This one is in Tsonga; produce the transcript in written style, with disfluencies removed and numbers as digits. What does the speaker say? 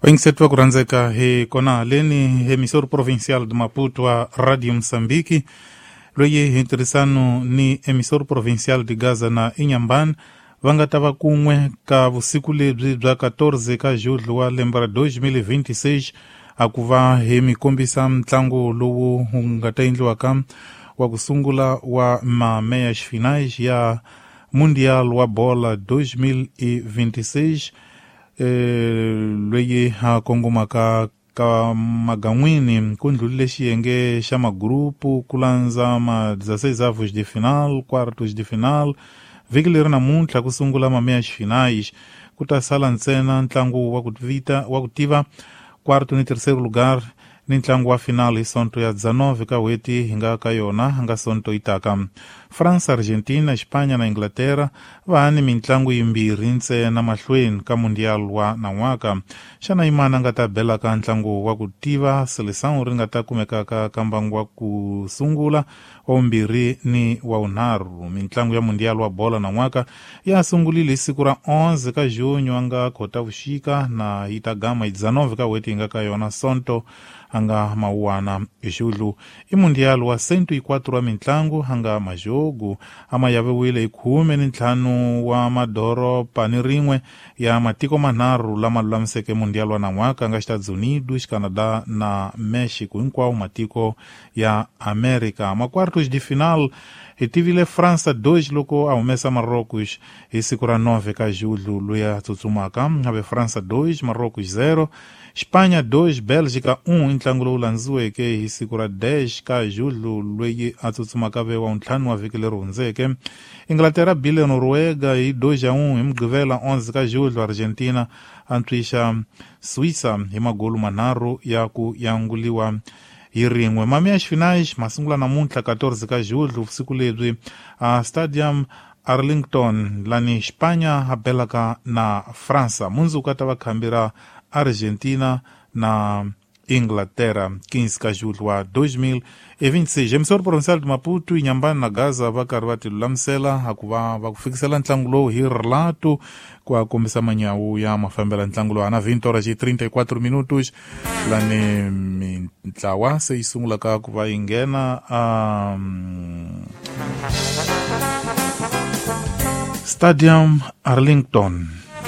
Vayingiseti va ku rhandzeka, hi kona haleni emissor provincial de Maputo wa Radio Mozambique, loyi hi ntirhisano ni emissor provincial de Gaza na Inhambane va nga ta va kun'we ka vusiku lebyi bya 14 ka julho wa lembe ra 2026, a ku va hi mi kombisa ntlangu lowu wu nga ta endliwaka wa ku sungula wa mameyas finais ya Mundial wa bola 2026, loyi a kongomaka ka magan'wini. Ku ndlulile xiyenge xa magurupu, ku landza ma 16 avos de final, quartos de final. Vhiki leri namuntlha ku sungula mameyas finais, ku ta sala ntsena ntlangu wa ku vita wa ku tiva quarto ni terceiro lugar ni ntlangu wa final hi Sonto ya 19 ka hweti hi nga ka yona, nga Sonto yi taka. Fransa, Argentina, Xipanya na Inglaterra va ni mintlangu yimbirhi ntsena mahlweni ka Mundial wa nan'waka. Xana yimana a nga ta belaka ntlangu wa ku tiva seleção ri nga ta kumekaka ka mbangu wa ku sungula, wa vumbirhi ni wa vunharhu? Mintlangu ya Mundial wa bola nan'waka ya sungulile hi siku ra 11 ka junho a nga Khotavuxika, na yi ta gama hi 19 ka hweti hi nga ka yona, Sonto a nga mawuwana julho. I Mundial wa 104 wa mintlangu a nga majogo a ma yaviwile hi 15 wa madoropa ni rin'we ya matiko manharhu lama lulamiseke Mundial wa nan'waka, nga Estados Unidos, Canada na Mexico, hinkwawo matiko ya America. Makwartos de final hi tivile França 2 loko a humesa Marrocos hi siku ra 9 ka julho loyi a tsutsumaka, ave França 2, Marrocos 0. Xipanya 2, Belgica 1 i ntlangu lowu landziweke hi siku ra 10 ka julho loyi a tsutsumaka, ve wa ntlhanu wa vhiki leri hundzeke. Inglaterra bile Noruega hi 2-1 hi Mugqivela 11 ka julho. Argentina antswisa Suíça hi magolu manharhu ya ku yanguliwa hi rin'we. Mamias finais ma sungula namuntlha 14 ka julho, vusiku lebyi, a Stadium Arlington, lani Xipanya a belaka na Fransa. Mundzuku a ta va khambi ra Argentina na Inglaterra, 15 ka julho wa 2026. Emissor provincial de Maputo, Inhambane na Gaza va karhi va ti lulamisela a ku va va ku fikisela ntlangu lowu hi relato ku a kombisa manyawu ya mafambela ntlangu lowu. Ana 20 horas e 34 minutos, lani mintlawa se yi sungulaka ku va yi nghena Stadium Arlington.